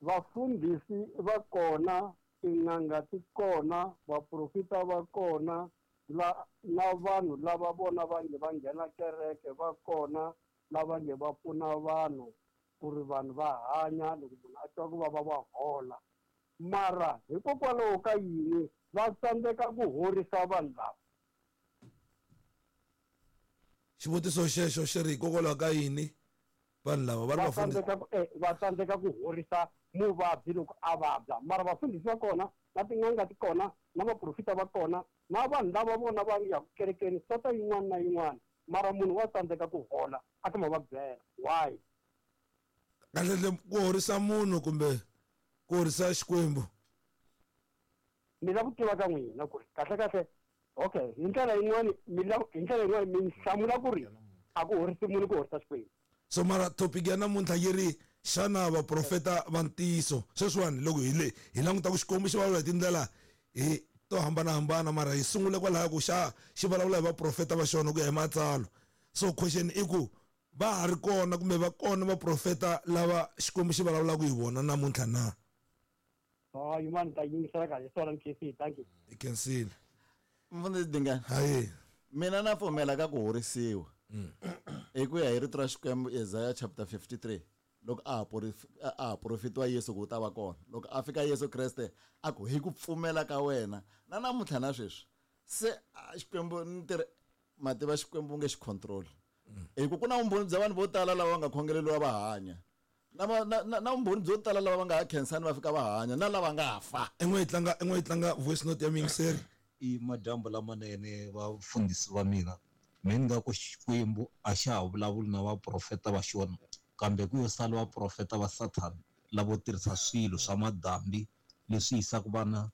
vafundhisi va kona, tin'anga ti kona, vaprofita va kona, la na vanhu lava vona va nge va nghena kereke va kona, lava nge va pfuna vanhu ku ri vanhu va hanya loko munhu a twa ku vava va hola. Mara hikokwalaho ka yini va tsandzeka ku horisa vanhu lava? Xivutiso xexo xi ri hikokwalaho ka yini vanhu lava va ri Va vafundhisi tsandzeka ku eh, va tsandzeka ku horisa muvabyi loko a vabya. Mara vafundhisi va kona, na tin'anga ti kona, na vaprofita va kona, na vanhu lava vona va ya kerekeni sota yin'wana na yin'wana, mara munhu wa tsandzeka ku hola a ta ma va byela. Why? Kahle ku horisa munhu kumbe ku horisa Xikwembu? Mi lava ku tiva ka n'wina ku ri kahle kahle, okay, hi ndlela yin'wani mi lava, hi ndlela yin'wani mi hlamula ku ri a ku horisi munhu, ku horisa Xikwembu. So mara topic ya namuntlha yi ri xana vaprofeta va ntiyiso? Sweswiwani loko hi le hi languta ku Xikwembu xi vulavula hi tindlela hi to hambanahambana, mara hi sungule kwalaya ku xa xi vulavula hi vaprofeta va xona ku ya hi matsalwa. So question i ku va ha ri kona kumbe va kona vaprofeta lava Xikwembu xi vulavulaka hi vona namuntlha na? Oh, yin'wana ta yingisela kahle swona ni khensile, thank you. Hi khensile. Mfundhisi Dingani. Hayi. Mina na pfumela ka ku horisiwa. Hi ku ya hi rito ra Xikwembu Isaiah chapter fifty-three, loko a ha profetiwa Yesu ku u ta va kona. Loko a fika Yesu Kreste a ku hi ku pfumela ka wena na namuntlha na sweswi se Xikwembu ni tirhe mativa Xikwembu nge xi control. Hi ku ku na vumbhoni bya vanhu vo tala lava va nga khongeleriwa va hanya, na na na vumbhoni byo tala lava va nga ha khensani va fika va hanya, na lava nga fa. En'we yi tlanga en'we yi tlanga voice note ya miyingiseri. I madyambu lamanene vafundhisi va mina. Mina ni nga ku Xikwembu a xa ha vulavuli na vaprofeta va xona, kambe ku yo sala vaprofeta va Sathana lavo tirhisa swilo swa madambi leswi yisaka vana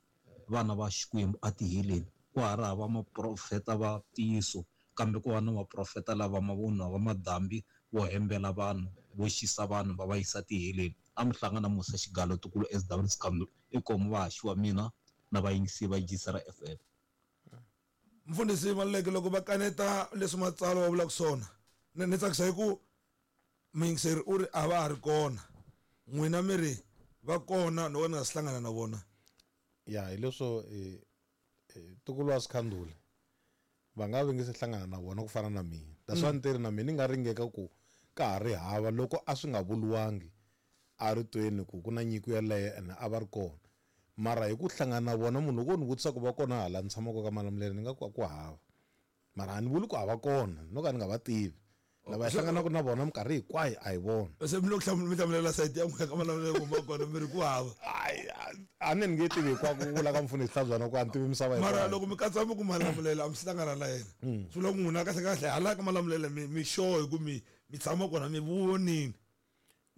vana va Xikwembu etiheleni. Ku ha ri hava maprofeta va ntiyiso, kambe ku va na vaprofeta lava mavunwa va madambi vo hembela vanhu, vo xisa vanhu va va yisa tiheleni. A mi hlangana Musa Xigalo Tukulu S W Sikamlu, i komu vahaxi wa mina na vayingisi va G S R F M. Mfundhisi Maluleke, loko va kaneta leswi matsalwa va vulaka swona, ni ni tsakisa hi ku muyingiseri u ri a va ha ri kona, n'wina mi ri va kona, no ni nga si hlangana na vona. Ya, hi leswo Tukulu wa Sikhandula va nga vi nge se hlangana na vona ku fana na mina. That's why ni ri na mina ni nga ringeka ku ka ha ri hava loko a swi nga vuriwangi a ritweni ku ku na nyiko yeleyo ene a va ri kona. Mara hi ku hlangana na vona, munhu loko ni vutisa ku va kona hala ni tshamaka ka Malamulele, ni nga ku a ku hava. Mara a ni vuli ku a va kona, no ka ni nga va tivi. Lava hi hlanganaka na vona minkarhi hinkwayo a hi vona. Se mi lo mi hlamulela sayiti ya n'wina ka Malamulele ku va kona mi ri ku hava. A ni nge tivi hinkwako ku vula ka mfundhisi Hlantswana ku a ni tivi misava hinkwayo. Mara loko mi katsa mi ku Malamulele a mi si hlangana na yena, swi vula ku n'wina kahle kahle hala ka Malamulele mi mi sure hi ku mi mi tshama kona mi vonini.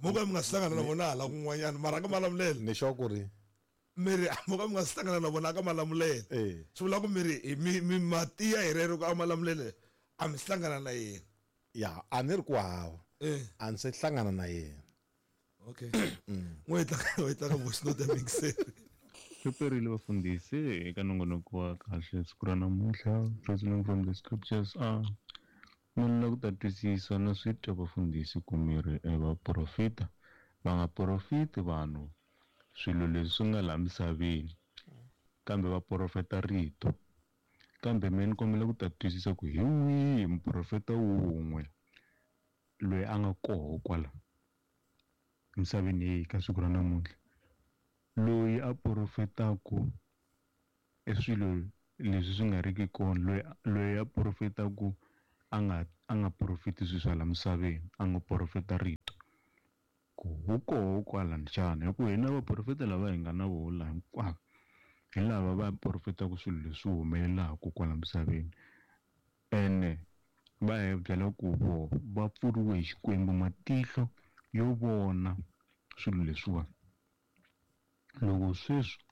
Mo ka mi nga si hlangana na vona hala kun'wanyana, mara ka Malamulele ni sure ku ri mi ri mo ka mi nga si hlangana na vona ka Malamulele. Swi vula ku mi ri mi mi matiya hi rero ku a Malamulele a mi si hlangana na yena. Ya, a ni ri ku hava. A ni se hlangana na yena. Okay. N'we tlanga n'we tlanga voice note ya mixer. Swi vafundhisi eka nongonoko wa kahle siku ra namuntlha, reasoning from the scriptures. A ni lava ku ta twisisa na swi twa vafundhisi ku mi ri vaprofeta va nga profiti vanhu swilo leswi swi nga laha misaveni, kambe va profeta rito. Kambe mina ni kombela ku ta twisisa ku hi wihi muprofeta wun'we loyi a nga koho kwala misaveni leyi ka siku ra namuntlha. Loyi a profetaku e swilo leswi swi nga riki kona, loyi loyi a profetaku a nga a nga profeti swilo swa la misaveni, a nga profeta rito. Ku wu koho kwalani xana? Hikuva hina vaprofeta lava hi nga na voho laha hinkwavo hi lava va profetaka swilo leswi humelelaka kwala misaveni, ene va hi byela ku vo va pfuriwe hi Xikwembu matihlo yo vona swilo leswiwani. Loko sweswi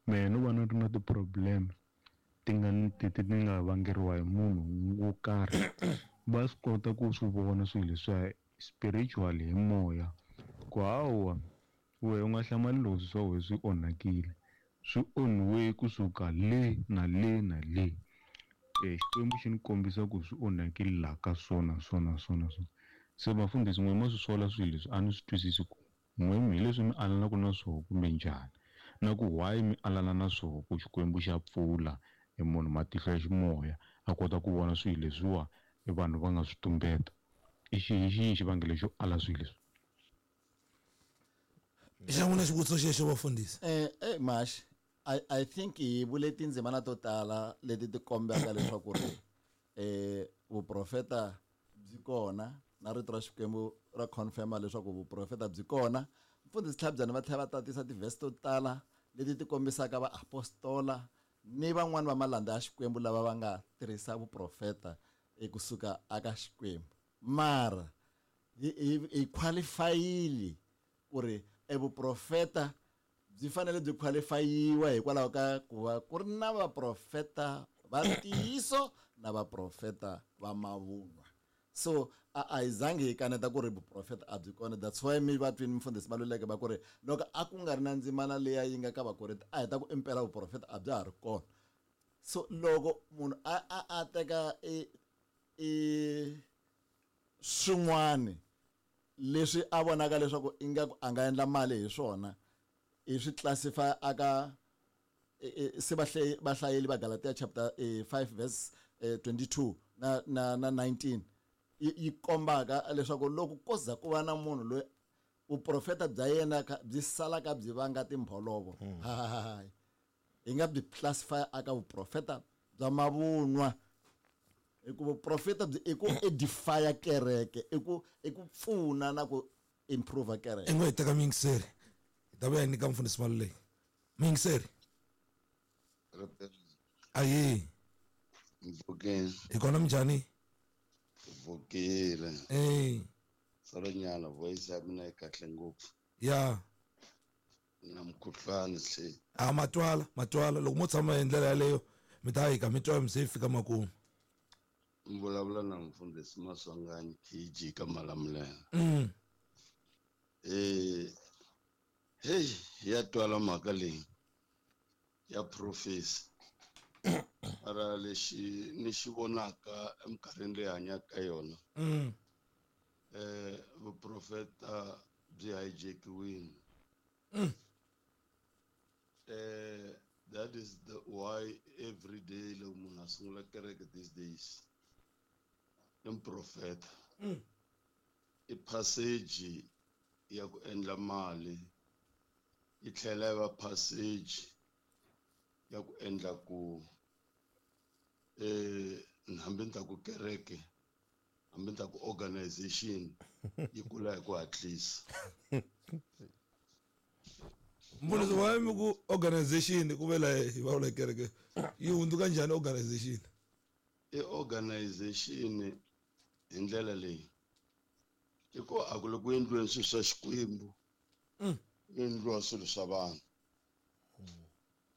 mehe no va ni ri na ti-problem ti nga ti ti nga vangeriwa hi munhu wo karhi, va swi kota ku swi vona swilo leswiya spiritually hi moya ku hawa wehe u nga hlamali loko swilo swa wena swi onhakile, swi onhiwe kusuka le na le na le. E Xikwembu xi ni kombisa ku swi onhakile laha ka swona swona swona swona. Se vafundhisi n'we ma swi sola swilo leswi a ni swi twisisi ku n'we hi leswi mi alanaka na swoho kumbe njhani, na ku why mi alana na swoho ku Xikwembu xa pfula e munhu matihlo ya ximoya a kota ku vona swilo leswiwa e vanhu va nga swi tumbeta. I xihi xihi xivangelo xo ala swilo leswi? Xa n'wina xivutiso xexo vafundhisi? Eh eh Mash, I I think hi vule tindzimana to tala leti ti kombaka leswaku ri eh vuprofeta byi kona na rito ra Xikwembu ra confirma leswaku vuprofeta byi kona. Mfundhisi Tlhabyana va tlhela va tatisa tivhesi to tala leti ti kombisaka vaapostola ni van'wani va malandza ya Xikwembu lava va nga tirhisa vuprofeta ekusuka aka Xikwembu. Mara hi hi qualifyile ku ri e vuprofeta byi fanele byi qualifyiwa hikwalaho ka ku va ku ri na vaprofeta va ntiyiso na vaprofeta va mavunwa. So a a hi zangi hi kaneta ku ri vuprofeta a byi kona. That's why mi va twini mfundhisi Maluleke va ku ri loko a ku nga ri na ndzimana leya yi nga ka Vakorinto a hi ta ku impela vuprofeta a bya ha ri kona. So loko munhu a a a teka e e swin'wani leswi a vonaka leswaku ingaku a nga endla mali hi swona, i swi classify aka se vahlayeli va Galatia chapter five verse twenty-two na na na nineteen yi kombaka leswaku loko ko za ku va na munhu loyi vuprofeta bya yena byi salaka byi vanga timbholovo, hi nga byi classify aka vuprofeta bya mavunwa. Hikuva vuprofeta byi i ku edify kereke, i ku i ku pfuna na ku improve kereke. I ngo hi teka muyingiseri, hi ta vuya hi nyika mfundhisi Maluleke. Muyingiseri. Ayi. Mpfukeni. Hi kona minjhani? Pfukile. Eh. Salonyana voice ya mina yi kahle ngopfu. Ya. Na mukhuhlwani se. A matwala, matwala loko mo tshama hi ndlela yaleyo mi ta hika mi twa mi se fika makumu. Mi vulavula na mfundhisi Maswanganyi K G ka Malamulele. Mm. Eh hey ya twala mhaka leyi ya prophecy. Mara lexi ni xi vonaka eminkarhini leyi hanyaka ka yona. Mm. Eh vuprofeta byi hijackiwile. Mm. Eh that is the why every day loko munhu a sungula kereke these days i muprofeta. Mm. I passage ya ku endla mali yi tlhela yi va passage ya ku endla ku eh hambi ni ta ku kereke hambi ni ta ku organization yi kula hi ku hatlisa. Mfundhisi wa mi ku organization ku vela hi va kereke yi hundzuka njhani organization? I organization hi ndlela leyi i ku a ku loko ku endliweni swilo swa Xikwembu, ku endliwa swilo swa vanhu.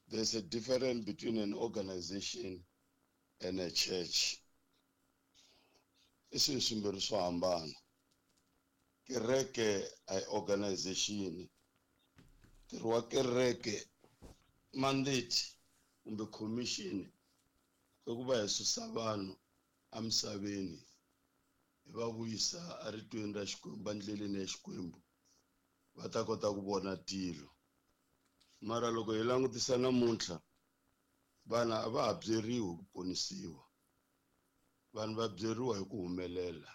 There's a difference between an organization and a church. I swilo swimbirhi swo hambana. Kereke a hi organization. Ntirho wa kereke mandate kumbe commission i ku va hi susa vanhu emisaveni hi va vuyisa eritweni ra Xikwembu, endleleni ya Xikwembu, va ta kota ku vona tilo. Mara loko hi langutisa namuntlha vana a va ha byeriwi ku ponisiwa, vanhu va byeriwa hi ku humelela.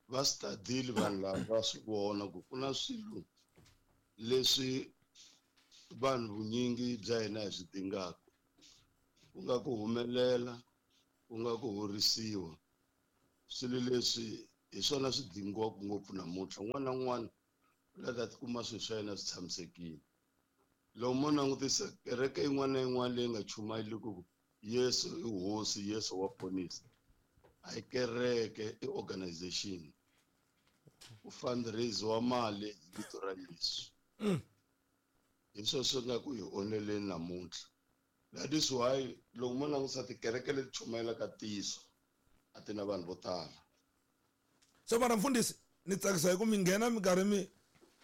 Va study-ile vanhu lava va swi vona ku ku na swilo leswi vanhu vunyingi bya hina hi swi dingaka ku nga ku humelela ku nga ku horisiwa swilo leswi hi swona swi dingiwaka ngopfu namuntlha un'wana na un'wana u lava ta tikuma swilo swa yena swi tshamisekile loko mo langutisa kereke yin'wana na yin'wana leyi nga chumayeliki ku Yesu i hosi Yesu wa ponisa a hi kereke i organization ku fundraise wa mali hi vito ra Yesu hi swona swi nga ku hi onheleni namuntlha that is why loko mo langutisa tikereke leti chumayelaka ntiyiso a ti na vanhu vo tala so mara mfundhisi ni tsakisa hi ku mi nghena minkarhi mi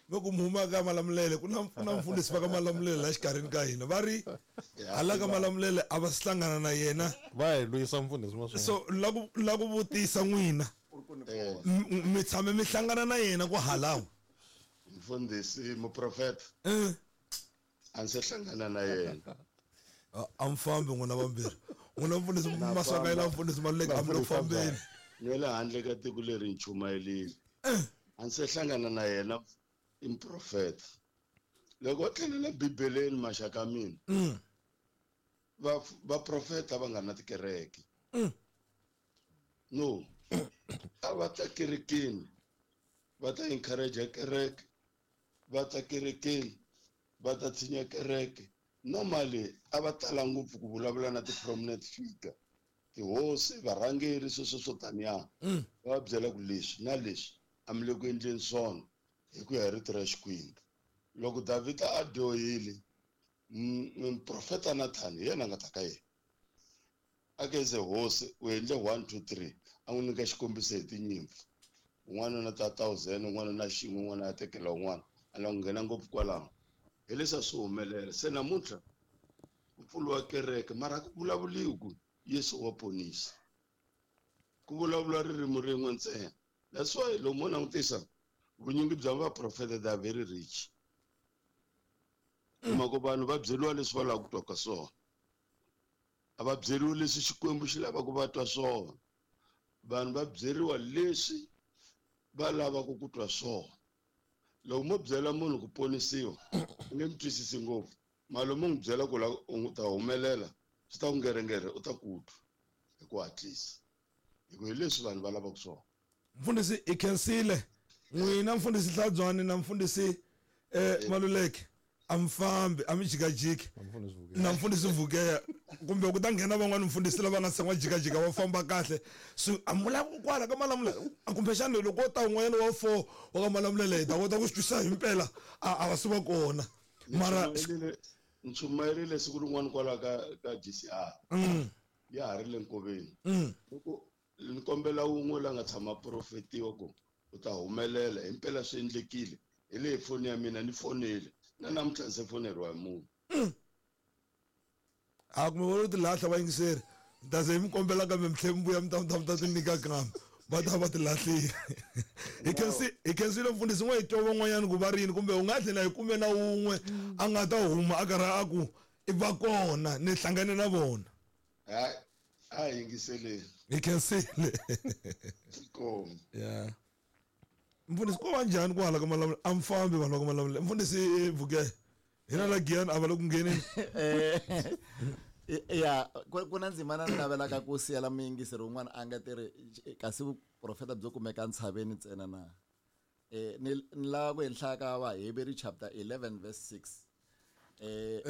mi ku mi huma ka Malamulele ku na ku na mfundhisi va ka Malamulele la xikarhini ka hina va ri hala ka Malamulele a va si hlangana na yena va hi lwisa mfundhisi ma so la ku la ku vutisa n'wina M- mi tshame mi hlangana na yena ku halawa mfundhisi muprofeta a ndzi se hlangana na yena a mi fambi n'wina vambirhi n'wina mfundhisi Maswanganyi na mfundhisi Maluleke a mi le ku fambeni ni le handle ka tiko leri ni chumayelile a ndzi se hlangana na yena i muprofeta loko va tlhelela bibeleni maxaka mina va vaprofeta va nga na tikereke no a va ta kerekeni va ta encourage kereke va ta kerekeni va ta tshinya kereke normally a va tala ngopfu ku vulavula na ti-prominent figure tihosi varhangeri sweswo swo taniya va va byela ku leswi na leswi a mi le ku endleni swona hi ku ya hi rito ra Xikwembu loko Davhida a dyohile muprofeta Nathan hi yena a nga ta ka yena a ke ze hosi u endle one two three a n'wi nyika xikombiso hi tinyimpfu un'wana na ta thousand un'wana na xin'we un'wana a tekela un'wana a lava ku nghena ngopfu kwalaho hi leswi a swi humelela se namuntlha ku pfuriwa kereke mara a ku vulavuliwi ku Yesu wa ponisa ku vulavula ririmi rin'we ntsena that's why loko mo langutisa vunyingi bya vaprofeta they are very rich kuma ku vanhu va byeriwa leswi va lavaka ku twa ka swona a va byeriwi leswi Xikwembu xi lavaka va twa swona vanhu va byeriwa leswi va lavaka ku twa swona loko mo byela munhu ku ponisiwa u nge mi twisisi ngopfu mara mo n'wi byela ku la u ta humelela swi ta ku ngerengere u ta ku twa hi ku hatlisa hi ku hi leswi vanhu va lavaka swona mfundhisi i khensile n'wina mfundhisi Hlabyani na mfundhisi eh Maluleke a mi fambi a mi jikajiki na mfundhisi Vukeya kumbe ku ta nghena van'wani mfundhisi lava nga se jikajika va famba kahle so a mi vula kwala ka Malamulele kumbexana loko ko ta un'wanyana wa four wa ka Malamulele hi ta kota ku swi twisisa himpela a a va se va kona mara ni chumayerile siku rin'wana kwala ka ka G C R ya ha ri le nkoveni loko ni kombela wun'we la nga tshama profetiwa ku u ta humelela himpela swi endlekile hi leyi foni ya mina ni fonile na namuntlha ndzi foneriwa hi munhu a kumbe vo ti lahla vayingiseri ni ta ze mi kombela kambe mi tlhe mi vuya mi ta mi ta mi ta ti nyika kambe va ta va ti lahlile hi khensi hi khensile mfundhisi n'we hi twa van'wanyana ku va rini kumbe u nga tlhela hi kume na wun'we a nga ta huma a karhi a ku i va kona ni hlangane na vona hayi a hi yingiseleni hi khensile ya mfundhisi ko va njhani ku hala ka Malamulele a mi fambi vanhu va ka Malamulele mfundhisi Vukeya hina la Giyani a va le ku ngheneni ya ku na ndzimana ni navelaka ku siyela muyingiseri wun'wana a nga tiri kasi vuprofeta byo kumeka ntshaveni ntsena na eh ni ni lava ku henhla ka Vaheberi chapter eleven verse six eh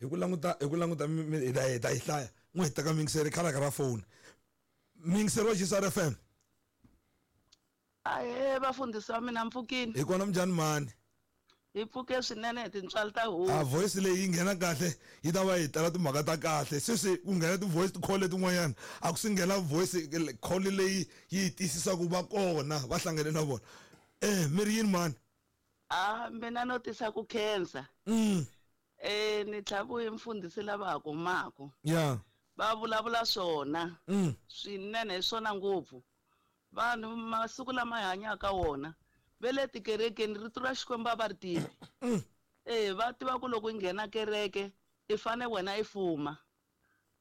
hi ku languta hi ku languta hi ta hi ta yi hlaya n'wi hi teka muyingiseri khalaka ra foni muyingiseri wa G C R F M ahe vafundhisi wa mina mpfukini hi kona minjhani mani hi pfuke swinene hi tintswalo ta hosi a voice leyi yi nghena kahle yi ta va yi tala timhaka ta kahle sweswi ku nghena ti-voice ti-call letin'wanyana a ku si nghena voice call leyi yi tiyisisa ku va kona va hlangane na vona eh mi ri yini mani a mina no tisa ku khensa mm. eh ni tlhavuye mfundhisi lava ha kumaka ya va vulavula swona mm. swinene hi swona ngopfu vanhu masiku lama hi hanyaka wona ve le tikerekeni rito ra Xikwembu a va ri tivi eh va tiva ku loko i nghena kereke i fane wena i fuma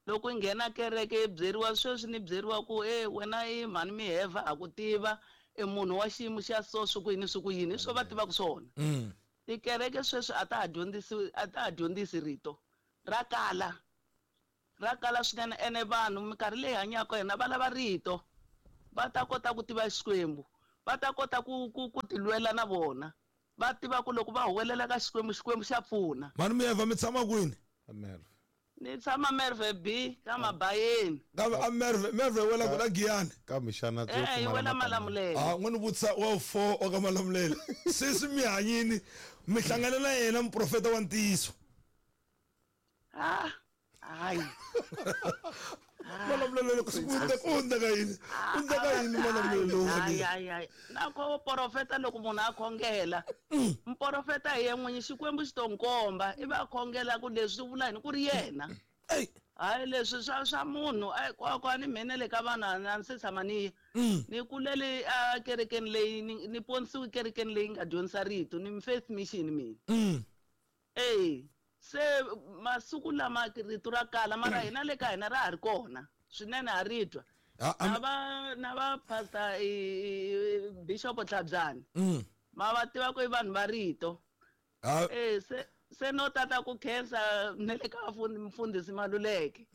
loko i nghena kereke i byeriwa sweswi ni byeriwa ku e wena i mhani miheva a ku tiva i munhu wa xiyimo xa so swi ku yini swi ku yini hi swo va tivaka swona Tikereke sweswi a ta ha dyondzisi a ta ha dyondzisi rito ra kala ra kala swinene ene vanhu minkarhi leyi hanyaka hina va lava rito va ta kota ku tiva Xikwembu va ta kota ku ku ku tilwela na vona va tiva ku loko va huwelela ka Xikwembu Xikwembu xa pfuna. Mani mi yeva mi tshama kwini? Merve. Ni tshama Merve B ka Mabayeni. Ka a Merve Merve wela ku la Giyani. Ka mixana tso eh wela Malamulele. Ah n'wini vutisa wa four wa ka Malamulele. Sweswi mi hanyini mi hlangana na yena muprofeta wa ntiyiso. Ah hayi. Malamulele ku sungula ku hundza ka yini? Hundza ka yini Malamulele lowu? Hayi hayi hayi. Na ko profeta loko munhu a khongela. Mprofeta hi yena Xikwembu xi to nkomba i va khongela ku leswi vula yini ku ri yena. Hayi leswi swa swa munhu ai kwa ni mina le ka vanhu a ndzi se tshama ni ni kulele a kerekeni leyi ni ponisiwe kerekeni leyi nga dyondzisa rito ni faith mission mina. Eh se masiku lama rito ra kala mara hina le ka hina ra ha ri kona swinene ha ri twa na va na va pastor Bishop Tlhabyani ma va tiva ku i vanhu va rito eh se se no tata ku khensa ne le ka mfundhisi Maluleke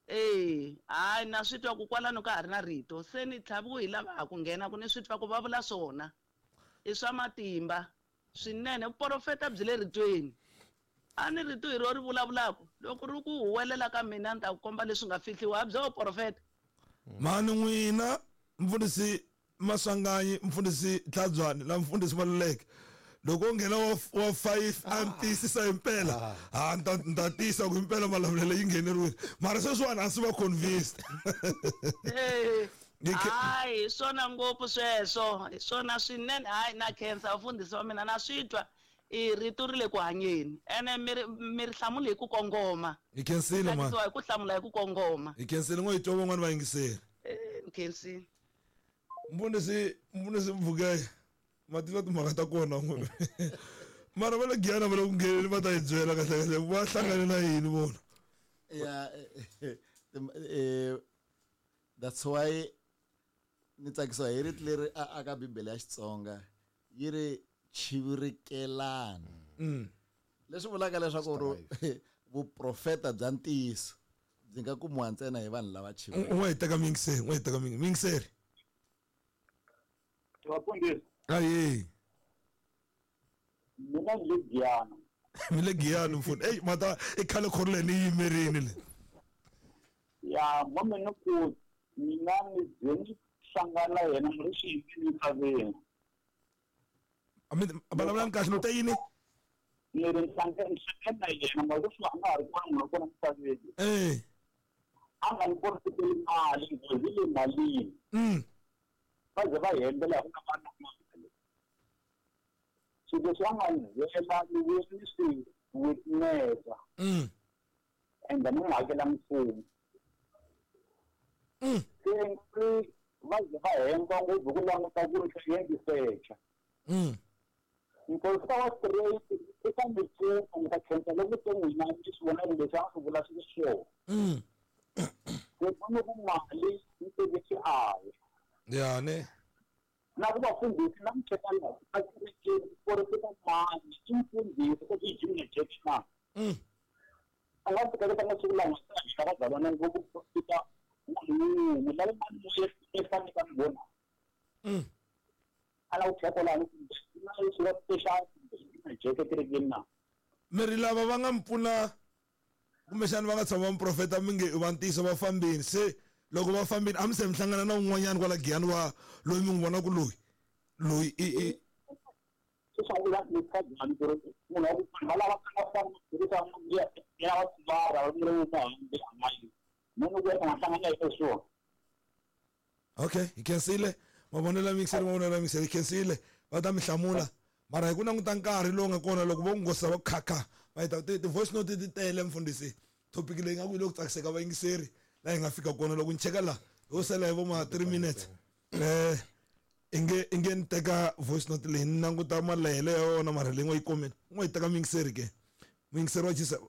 eh hayi na swi twa ku kwalano ka ha ri na rito se ni tlhaviwe hi lava ha ku nghena ku ni swi twa ku va vula swona i swa matimba swinene vuprofeta byi le ritweni. A ni rito hi ro ri vulavulaka loko ri ku huwelela ka mina ni ta ku komba leswi nga fihliwa byo profeta. Mani n'wina mfundhisi Maswanganyi mfundhisi Tlhabyani na mfundhisi Maluleke loko u nghena wa five a ni tiyisisa himpela ha ni ta ni ta tiyisa ku himpela Malamulele yi ngheneriwile mara sweswiwani a ndzi va convinced. Hayi hi swona ngopfu sweswo hi swona swinene hayi na khensa mfundhisi wa mina na swi twa i rito ri le ku hanyeni ene mi ri mi ri hlamula hi ku kongoma. Hi khensile mani hi ku hlamula hi ku kongoma. Hi khensile ngo hi twa van'wani va yingiseri. Eh ni khensile. Mfundhisi mfundhisi Mvukeye ma tiva timhaka ta kona n'we mara va le Giyani va le ku ngheneni va ta hi byela kahle kahle va hlangane na yini vona. Yeah eh that's why ni tsakisiwa hi rito leri a ka Bibele ya Xitsonga yi ri chivirikelana. Leswi vulaka leswaku vuprofeta bya ntiyiso byi nga kumiwa ntsena hi vanhu lava chivirikaka. N'we hi teka miyingiseri n'we hi teka miyingiseri. Vafundhisi. Ayi. Mina ni le Giyani. Mi le Giyani mfundhi. Ey mata i khale khorle ni yimerini le. Ya mama ni ku mina ni bye ni hlangana yena mi ri xiyimini misaveni. Ami vulavulani kahle no ta yini? Ni ri hlangana na yena mara leswi a nga ha ri kona munhu wa kona misaveni. Eh. A nga ni porofeteli mali nghozi le malini. Mm. Va ze va hembela ku nga va na mali. Swilo leswi a nga ni byela ni vuye ni swi witnessa. Mm. Ende ni n'wi hakela mfumo. Mm. Se ri va ze va hemba ngopfu ku languta ku ri swi endlisecha. Mm. Mprofeta wa straight i ta mi pfuna mi ta khensa loko se n'wina mi swi vona leswi a swi vula swi ri swona. Mm. Se vona ku mali yi teke xiave. Ya ne. Na ku vafundhisi na mutsheka laha a kerekeni porofeta mani i mfundhisi ku i Junior Jack na. Mm. A nga tikeleta masiku lama hina vazalwana ngopfu profita munhu wun'we lava mani moya e fanele ka mi vona. Mm. A la ku cheka laha na leswi va special Junior Jack ekerekeni na. Mi ri lava va nga mi pfuna kumbexana va nga tshama va muprofeta mi nge va ntiyiso va fambini se loko va fambini a mi se mi hlangana na un'wanyana kwala Giyani wa loyi mi n'wi vonaka loyi loyi i i Okay hi khensile mavonelo ya mixeri mavonelo ya mixeri hi khensile va ta mi hlamula mara hi ku languta nkarhi lowu nga kona loko vo ngosa va khakha va ta ti-voice note ti tele mfundhisi topic leyi nga ku yi le ku tsakiseka vayingiseri laha hi nga fika kona loko ni cheka laha ho sala hi vo ma three minutes eh inge inge ni teka voice note leyi ni languta malehelo ya yona mara leyi ngo yi komeni u ngo yi teka muyingiseri ke muyingiseri wa chisa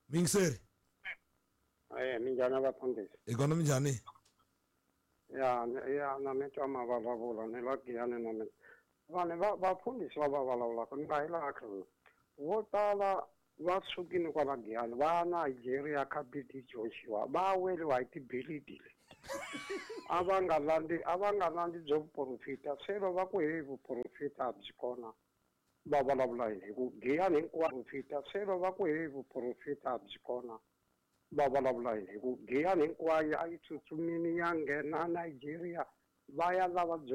muyingiseri. Eh minjhani vafundhisi? Hi kona minjhani? Ya ya na mi twa ma vulavula ni la Giyani na mina. Vanhu va vafundhisi va va vulavulaka ni nga yi laha vo tala va sukile kwala Giyani va ya Nigeria ka B D Joshua va weriwa hi tibilidi le. A va nga landzi a va nga landzi byo vuporofita se va ku hey vuporofita a byi kona va vulavula yini hi ku Giyani hinkwayo fita se va ku hey vuporofita a byi kona va vulavula yini hi ku Giyani hinkwayo a yi tsutsumile ya nghena Nigeria va ya lava byo